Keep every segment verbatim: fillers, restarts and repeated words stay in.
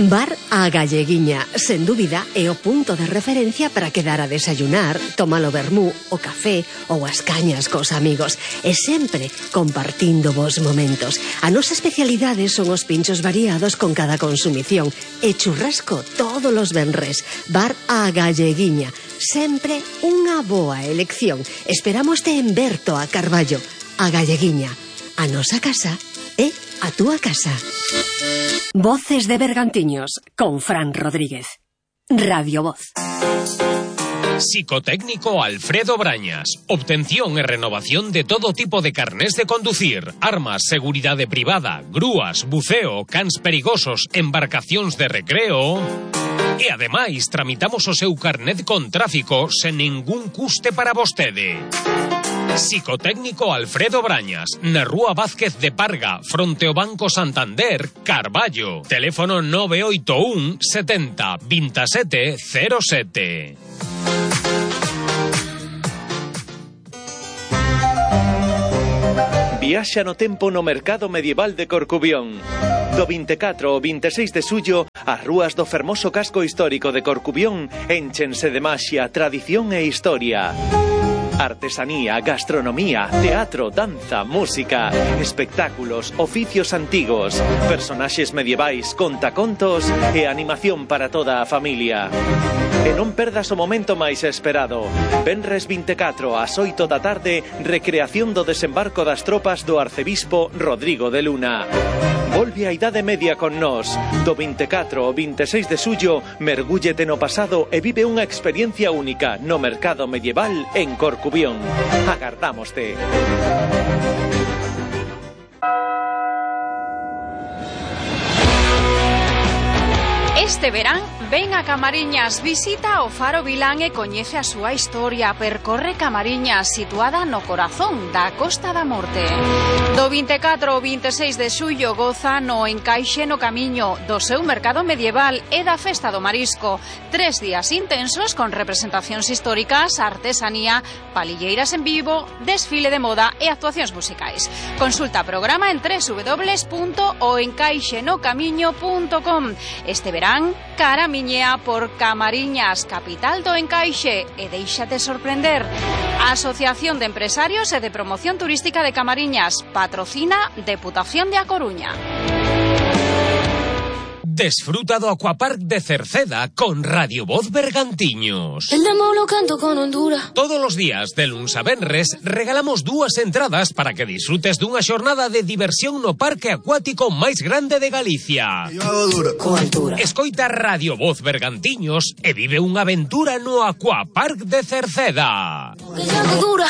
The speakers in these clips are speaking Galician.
Bar A Galleguiña, sen dúbida, é o punto de referencia para quedar a desayunar, tomar o vermú, o café ou as cañas cos amigos, e sempre compartindo vos momentos. A nosa especialidade son os pinchos variados con cada consumición e churrasco todos os venres. Bar A Galleguiña, sempre unha boa elección. Esperámoste en Berto a Carballo. A Galleguiña, a nosa casa é a túa casa. Voces de Bergantiños con Fran Rodríguez. Radio Voz. Psicotécnico Alfredo Brañas. Obtención e renovación de todo tipo de carnés de conducir, armas, seguridade privada, grúas, buceo, cans perigosos, embarcacións de recreo. E ademais tramitamos o seu carnet con tráfico sen ningún custe para vostede. Psicotécnico Alfredo Brañas, na Rúa Vázquez de Parga, fronte ao Banco Santander, Carballo. Teléfono nove oito un setenta veintisiete cero sete. Viaxa no tempo no Mercado Medieval de Corcubión. Do vinte e catro ao vinte e seis de xullo, as rúas do fermoso casco histórico de Corcubión énchense de maxia, tradición e historia. Artesanía, gastronomía, teatro, danza, música, espectáculos, oficios antigos, personaxes medievais, contacontos e animación para toda a familia. E non perdas o momento máis esperado. Venres vinte e catro ás oito da tarde, recreación do desembarco das tropas do arcebispo Rodrigo de Luna. Volve a Idade Media con nós. Do vinte e catro ao vinte e seis de xullo, mergúllete no pasado e vive unha experiencia única no mercado medieval en Corcubión. Agardámoste. Este verán, ven a Camariñas, visita o Faro Vilán e coñece a súa historia. Percorre Camariñas, situada no corazón da Costa da Morte. Do vinte e catro ao vinte e seis de xullo goza no encaixe no camiño do seu mercado medieval e da Festa do Marisco. Tres días intensos con representacións históricas, artesanía, palilleiras en vivo, desfile de moda e actuacións musicais. Consulta programa en doble u doble u doble u punto o encaixe no camiño punto com. Este verán, caramiñea por Camariñas, capital do encaixe, e déixate sorprender. A Asociación de Empresarios e de Promoción Turística de Camariñas patrocina Deputación de A Coruña. Desfruta do Aquapark de Cerceda con Radio Voz Bergantiños. El demo lo canto con Honduras. Todos os días, de luns a venres, regalamos dúas entradas para que disfrutes dunha xornada de diversión no parque acuático máis grande de Galicia. Yo hago dura. Con altura. Escoita Radio Voz Bergantiños e vive unha aventura no Aquapark de Cerceda. Que yo hago dura.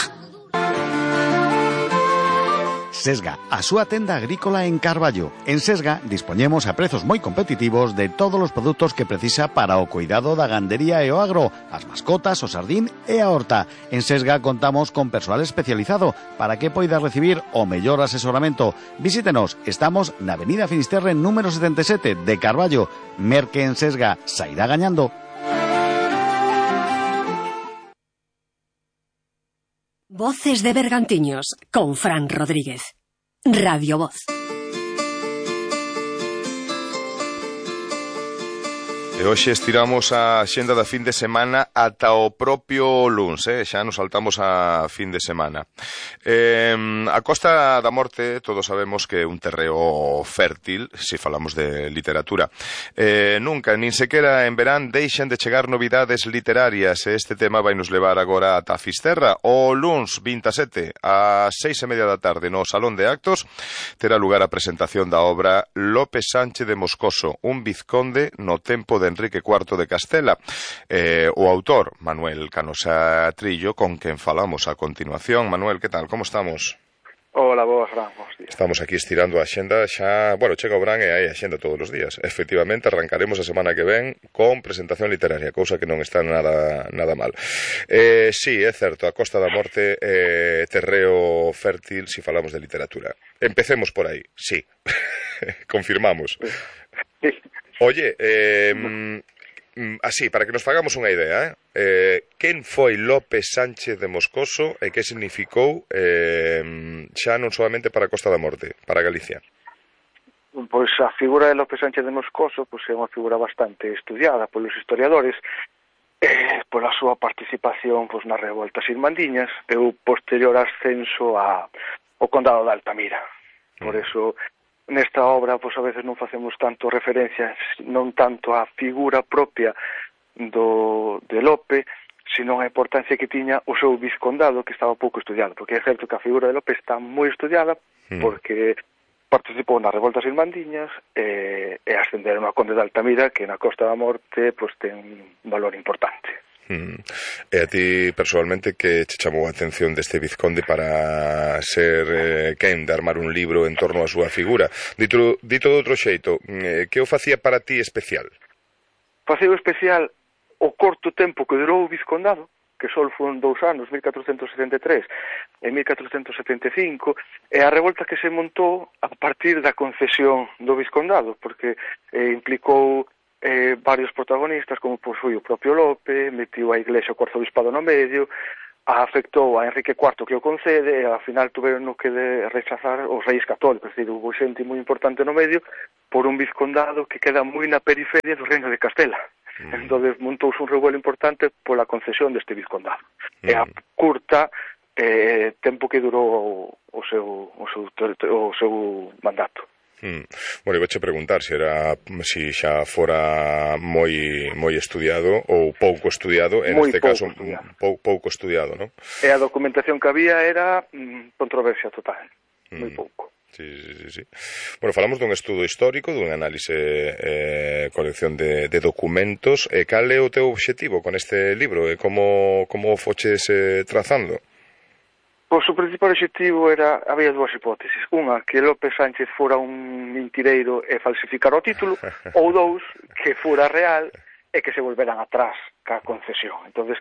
Sesga, a súa tenda agrícola en Carballo. En Sesga dispoñemos a prezos moi competitivos de todos os produtos que precisa para o cuidado da gandería e o agro, as mascotas, o sardín e a horta. En Sesga contamos con persoal especializado para que poida recibir o mellor asesoramento. Visítenos, estamos na Avenida Finisterre número setenta e sete de Carballo. Merque en Sesga, sairá gañando. Voces de Bergantiños con Fran Rodríguez. Radio Voz. E hoxe estiramos a xenda da fin de semana ata o propio luns, eh? Xa nos saltamos a fin de semana. Eh, a Costa da Morte, todos sabemos que é un terreo fértil, se falamos de literatura. Eh, nunca, nin sequera en verán, deixen de chegar novidades literarias, e este tema vai nos levar agora ata Fisterra. O luns vinte e sete, a seis e media da tarde, no Salón de Actos, terá lugar a presentación da obra Lope Sánchez de Moscoso, un vizconde no tempo de Enrique cuarto de Castela. Eh, o autor, Manuel Canosa Trillo, con quen falamos a continuación. Manuel, que tal? Como estamos? Hola, boas, Fran, bons días. Estamos aquí estirando a xenda xa... Bueno, chega o Bran e hai a xenda todos os días. Efectivamente, arrancaremos a semana que ven con presentación literaria, cousa que non está nada nada mal. Eh, sí, é certo, a Costa da Morte é eh, terreo fértil se falamos de literatura. Empecemos por aí, sí. Confirmamos. Sí. Oye, eh, así, para que nos fagamos unha idea, eh, eh, quen foi Lope Sánchez de Moscoso e que significou eh, xa non solamente para a Costa da Morte, para Galicia? Pois a figura de Lope Sánchez de Moscoso pois, é unha figura bastante estudiada polos historiadores, eh, pola súa participación pois, nas revoltas irmandiñas e o posterior ascenso a, ao condado de Altamira. Por eso, nesta obra, pois, a veces non facemos tanto referencia, non tanto á figura propia do, de Lope, sino a importancia que tiña o seu vizcondado, que estaba pouco estudiado, porque é certo que a figura de Lope está moi estudiada, porque participou nas revoltas irmandiñas e, e ascenderon a conde de Altamira, que na Costa da Morte pois, ten un valor importante. Mm. E a ti, personalmente, que che chamou a atención deste vizconde para ser eh, quen de armar un libro en torno á súa figura? Dito, dito de outro xeito, eh, que o facía para ti especial? Faceu especial o corto tempo que durou o vizcondado, que só foron dous anos, mil catrocentos setenta e tres e mil catrocentos setenta e cinco, e a revolta que se montou a partir da concesión do vizcondado, porque eh, implicou eh, varios protagonistas, como pois, foi o propio Lope, metiu a Iglesia o arzobispado no medio, afectou a Enrique cuarto que o concede, e ao final tuveron que de rechazar os reis católicos, é dicir, hubo xente moi importante no medio, por un vizcondado que queda moi na periferia do reino de Castela. Mm. Entón montouse un revuelo importante pola concesión deste vizcondado. Mm. E a curta eh, tempo que durou o seu, o seu, o seu mandato. Mm. Bueno, iba a preguntar se era si xa fora moi moi estudiado ou pouco estudiado, en este caso pou, pouco estudiado, ¿no? E a documentación que había era mm, controversia total, mm. moi pouco. Sí, sí, sí, sí. Bueno, falamos dun estudo histórico, dun análise, eh, colección de, de documentos. E cal é o teu obxectivo con este libro? E como, como foches eh, trazando? Pois o principal obxectivo era, había dúas hipótesis. Unha, que Lope Sánchez fora un mentireiro e falsificara o título, ou dous, que fora real e que se volveran atrás ca concesión. Entonces,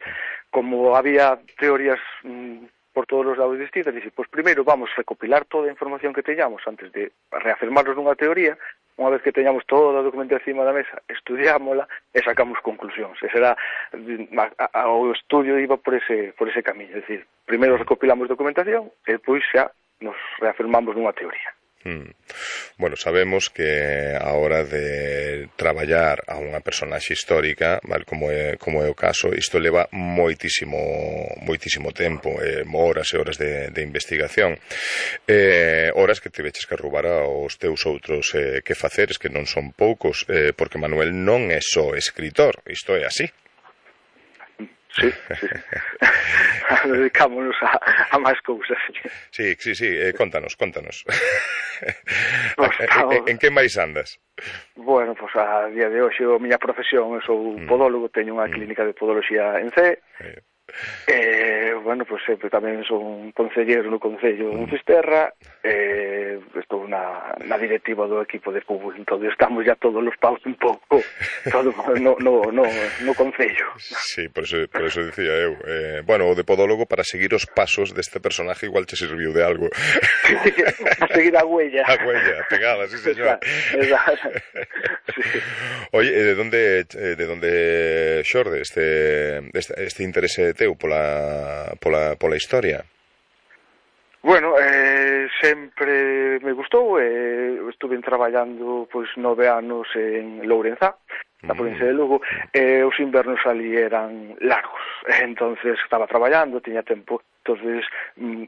como había teorías mmm, por todos os lados distintos, dice, pois primeiro vamos recopilar toda a información que teñamos antes de reafirmarnos nunha teoría, unha vez que teñamos toda a documentación encima da mesa, estudiámola e sacamos conclusións. Ese era, a, a, o estudio iba por ese, por ese camiño, é dicir, primeiro recopilamos documentación e depois xa nos reafirmamos nunha teoría. Mm. Bueno, sabemos que a hora de traballar a unha personaxe histórica, mal como é, como é o caso, isto leva moitísimo moitísimo tempo, eh, horas e horas de, de investigación, eh, horas que te veches que roubar aos teus outros eh, que faceres, que non son poucos, eh, porque Manuel non é só escritor, isto é así. Sí, sí. Dedicámonos a, a máis cousas. Sí, sí, sí, eh, contanos, contanos. Pues, en, en que máis andas? Bueno, pois pues, a día de hoxe a miña profesión, eu sou mm. podólogo, teño unha mm. clínica de podoloxía en C. Eh. Eh, bueno, pois pues, sempre tamén son concelleiro no Concello mm. de Fisterra, eh, estou na, na directiva do equipo de fútbol, entón estamos ya todos os paus un pouco todo no, no, no, no Concello. Sí, por eso, por eso dicía eu, eh, bueno, o de podólogo para seguir os pasos deste personaje igual che serviu de algo. A seguir a huella. A huella, pegada, sí señor. Exacto. Sí. Oye, de donde de donde xorde este, este, este interese teu pola, pola, pola historia? Bueno, eh, sempre me gustou, eh, estuve traballando pois nove anos en Lourenzá, na provincia de Lugo, e os invernos ali eran largos, entonces estaba traballando, tiña tempo, entonces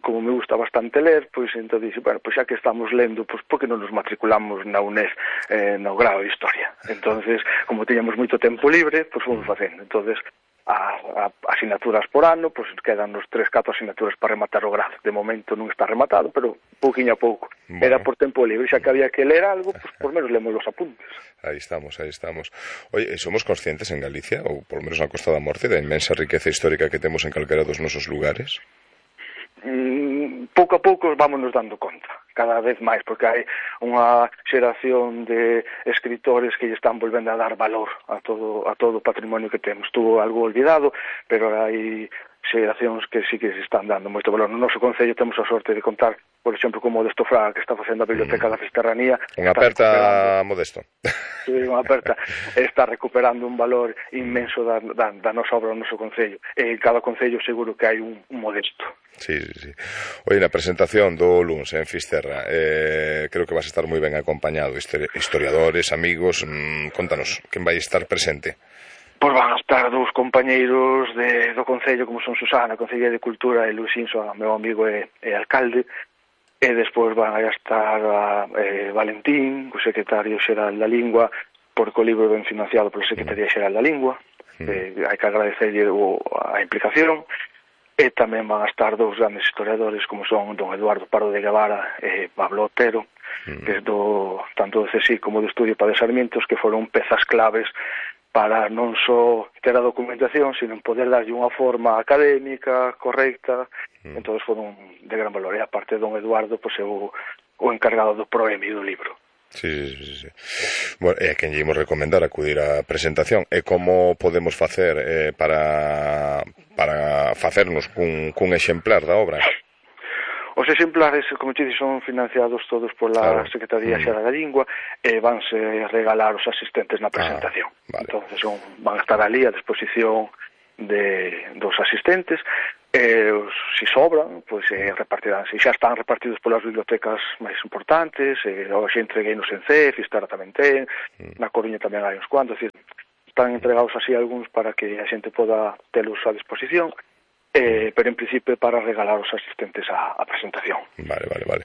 como me gusta bastante ler, pois entón dixo, bueno, pois xa que estamos lendo, pois por que non nos matriculamos na UNED eh, no grado de Historia? Entonces, como tiñamos moito tempo libre, pois fomos facendo, entonces a, a asignaturas por ano, pois quedan nos tres, catro asignaturas para rematar o grado. De momento non está rematado, pero pouquiño a pouco. Bueno. Era por tempo libre, xa que había que ler algo, pois por menos lemos os apuntes. Aí estamos, aí estamos. Oye, somos conscientes en Galicia, ou por menos na Costa da Morte, da inmensa riqueza histórica que temos en calquera dos nosos lugares? Mm, pouco a pouco vámonos dando conta, cada vez máis, porque hai unha xeración de escritores que lle están volvendo a dar valor a todo a todo o patrimonio que temos. Estuvo algo olvidado, pero hai xeracións que sí que se están dando moito valor. No noso concello temos a sorte de contar por exemplo, como o Modesto Fraga, que está facendo a Biblioteca mm. da Fisterranía. Unha aperta Modesto. Sí, unha aperta. Está recuperando un valor inmenso da, da, da nosa obra, do noso concello. En cada concello seguro que hai un, un Modesto. Sí, sí, sí. Oye, na presentación do luns en Fisterra, eh, creo que vas a estar moi ben acompañado. Historiadores, amigos, mmm, contanos, quen vai estar presente? Pois van a estar dous compañeiros de, do Concello, como son Susana, Concelleira de Cultura, e Luis Inso, meu amigo e, e alcalde, e despois van a estar a, eh, Valentín, o secretario xeral da Lingua, porque o libro ben financiado pola Secretaría Xeral da Lingua, mm. eh, hai que agradecerlle o, a implicación, e tamén van a estar dous grandes historiadores, como son don Eduardo Pardo de Guevara e Pablo Otero, mm. que do, tanto do C S I como do Estudio Padre Sarmientos, que foron pezas claves para non só ter a documentación, sino poder darlle unha forma académica, correcta, mm. entón foron de gran valor. E aparte don Eduardo, pois, é o, o encargado do proemio do libro. Sí, sí, sí. Bueno, e a quen lle imos recomendar acudir á presentación. E como podemos facer eh, para, para facernos cun, cun exemplar da obra? Os exemplares, como te dixo, son financiados todos pola claro. Secretaría Xeral da Lingua e vanse regalar os asistentes na presentación. Ah, vale. Entonces son, van a estar ali a disposición de, dos asistentes. E os, si sobran, pois eh, repartirán. Se xa están repartidos polas bibliotecas máis importantes, eh, hoxe entregueinos en C E F, Fisterra tamén ten, mm. na Coruña tamén hai uns cuantos, decir, están entregados así algúns para que a xente poda telos a disposición. Eh, pero en principio para regalar os asistentes á, á presentación. Vale, vale, vale.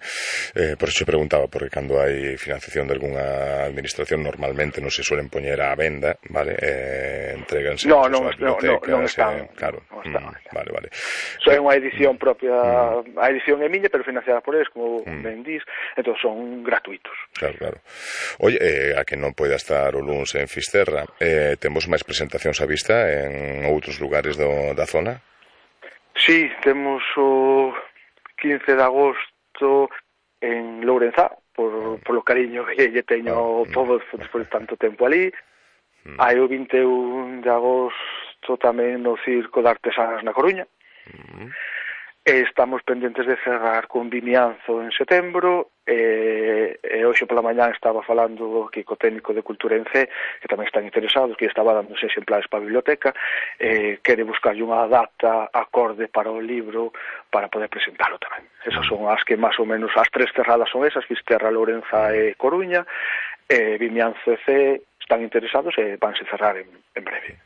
Eh, por eso preguntaba, porque cando hai financiación de algunha administración normalmente non se suelen poñer á venda, vale? Eh, entreganse no, non, no, no, non están, eh, claro. non están. Mm, vale, vale. So, é unha edición propia, mm. a edición é miña, pero financiada por eles, como mm. ben dis, entón son gratuitos. Claro, claro. Oye, eh, a que non poida estar o luns en Fisterra, eh, temos máis presentacións á vista en outros lugares do, da zona? Sí, temos o quince de agosto en Lourenzá, por, por lo cariño que lle teño ao povo despois de tanto tempo ali. Mm. Hai o vinte e un de agosto tamén no Circo de Artesanas na Coruña. Mm. E estamos pendentes de cerrar con Vimianzo en setembro, e, e hoxe pola mañá estaba falando aquí co técnico de Cultura en C, que tamén están interesados, que estaba dando exemplares para a biblioteca, e quere buscarlle unha data acorde para o libro para poder presentalo tamén. Esas son as que máis ou menos, as tres cerradas son esas, Fisterra, Lourenza e Coruña, e Vimianzo e C están interesados e vanse cerrar en, en breve.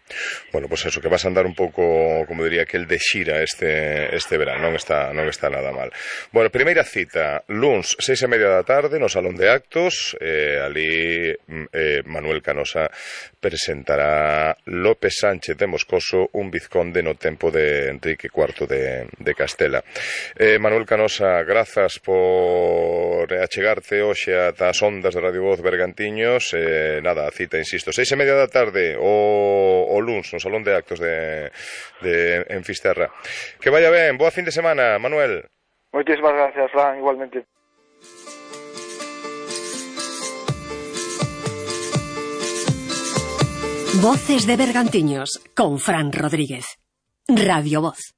Bueno, pois pues eso, que vas a andar un pouco, como diría, que el de xira este, este verán, non está, non está nada mal. Bueno, primeira cita, luns, seis e media da tarde, no Salón de Actos, eh, ali eh, Manuel Canosa presentará López Sánchez de Moscoso, un vizconde no tempo de Enrique cuarto de, de Castela. Eh, Manuel Canosa, grazas por achegarte hoxe ata as ondas de Radio Voz Bergantiños, eh, nada, a cita, insisto, seis e media da tarde o, o luns no Salón de Actos de, de en Fisterra. Que vaya ben, boa fin de semana, Manuel. Moitísimas gracias, Fran, igualmente. Voces de Bergantiños con Fran Rodríguez. Radio Voz.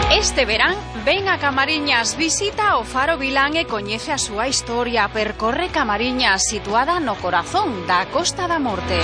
Este verán, ven a Camariñas, visita o Faro Vilán e coñece a súa historia. Percorre Camariñas, situada no corazón da Costa da Morte.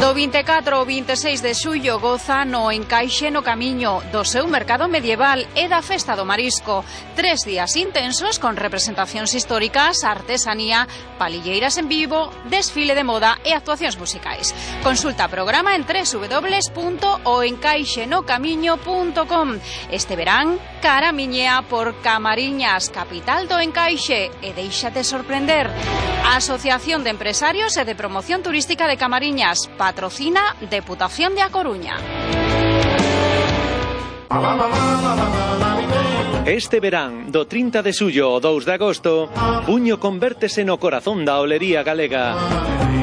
Do vinte e catro ao vinte e seis de xullo goza no encaixe no camiño do seu mercado medieval e da Festa do Marisco. Tres días intensos con representacións históricas, artesanía, palilleiras en vivo, desfile de moda e actuacións musicais. Consulta programa en doble u doble u doble u punto o encaixe no camiño punto com. Este verán, caramiñea por Camariñas, capital do encaixe, e déixate sorprender. A Asociación de Empresarios e de Promoción Turística de Camariñas patrocina Deputación de A Coruña. Este verán, do trinta de xullo ao dous de agosto, Buño convértese no corazón da olería galega.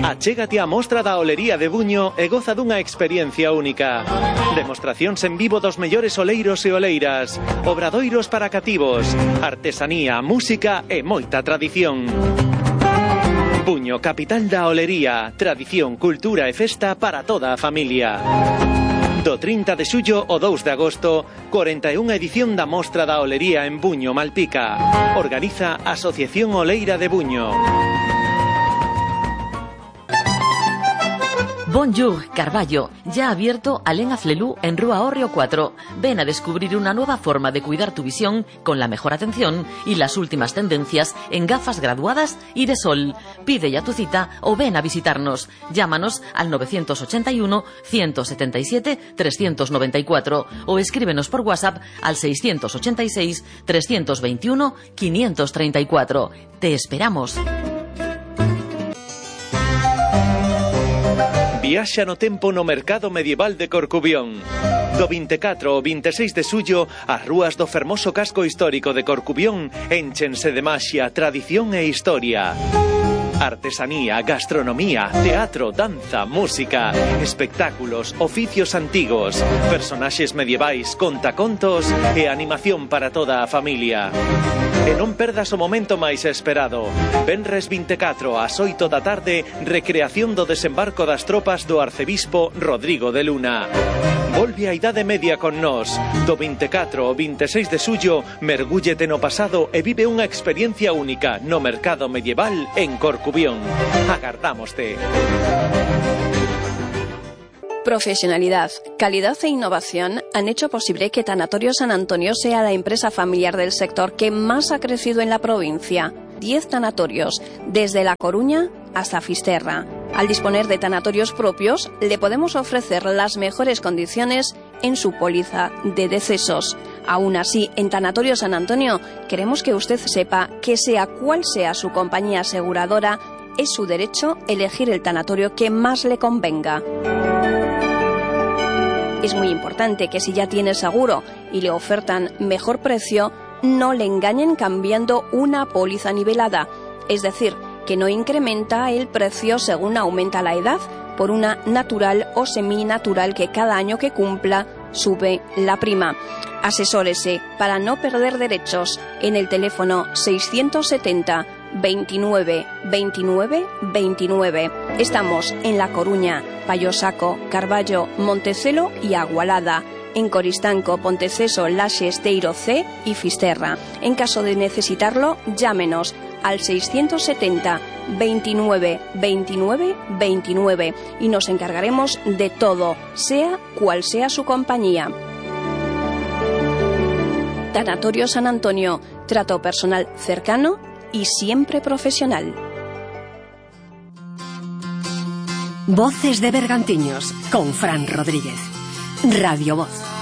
Achégate á mostra da olería de Buño e goza dunha experiencia única. Demostracións en vivo dos mellores oleiros e oleiras, obradoiros para cativos, artesanía, música e moita tradición. Buño, capital da olería, tradición, cultura e festa para toda a familia. Do trinta de xullo ao dous de agosto, cuarenta e unha edición da Mostra da Olería en Buño, Malpica. Organiza Asociación Oleira de Buño. Bonjour, Carballo, ya abierto Alén Aflelú en Rúa Hórreo cuatro. Ven a descubrir una nueva forma de cuidar tu visión con la mejor atención y las últimas tendencias en gafas graduadas y de sol. Pide ya tu cita o ven a visitarnos. Llámanos al nueve ocho uno, uno siete siete, tres nueve cuatro o escríbenos por WhatsApp al seis ocho seis, tres dos uno, cinco tres cuatro. Te esperamos. Viaxa no tempo no mercado medieval de Corcubión. Do vinte e catro ao vinte e seis de xullo, as rúas do fermoso casco histórico de Corcubión énchense de maxia, tradición e historia. Artesanía, gastronomía, teatro, danza, música, espectáculos, oficios antigos, personaxes medievais, contacontos e animación para toda a familia. E non perdas o momento máis esperado. Venres vinte e catro ás oito da tarde, recreación do desembarco das tropas do arcebispo Rodrigo de Luna. Volve a Idade Media con nós. Do vinte e catro ao vinte e seis de xullo, mergúllete no pasado e vive unha experiencia única no mercado medieval en Corcubión. Agardámoste. Profesionalidad, calidad e innovación han hecho posible que Tanatorio San Antonio sea la empresa familiar del sector que más ha crecido en la provincia. Diez tanatorios, desde La Coruña hasta Fisterra. Al disponer de tanatorios propios, le podemos ofrecer las mejores condiciones en su póliza de decesos. Aún así, en Tanatorio San Antonio, queremos que usted sepa que sea cual sea su compañía aseguradora, es su derecho elegir el tanatorio que más le convenga. Es muy importante que si ya tiene seguro y le ofertan mejor precio, no le engañen cambiando una póliza nivelada, es decir, que no incrementa el precio según aumenta la edad, por una natural o seminatural que cada año que cumpla sube la prima. Asesórese para no perder derechos en el teléfono seiscientos setenta, veintinueve, veintinueve, veintinueve. Estamos en La Coruña, Payosaco, Carballo, Montecelo y Agualada. En Coristanco, Ponteceso, Laxe, Esteiro C y Fisterra. En caso de necesitarlo, llámenos al seiscientos setenta, veintinueve, veintinueve, veintinueve y nos encargaremos de todo, sea cual sea su compañía. Tanatorio San Antonio, trato personal cercano y siempre profesional. Voces de Bergantiños con Fran Rodríguez. Radio Voz.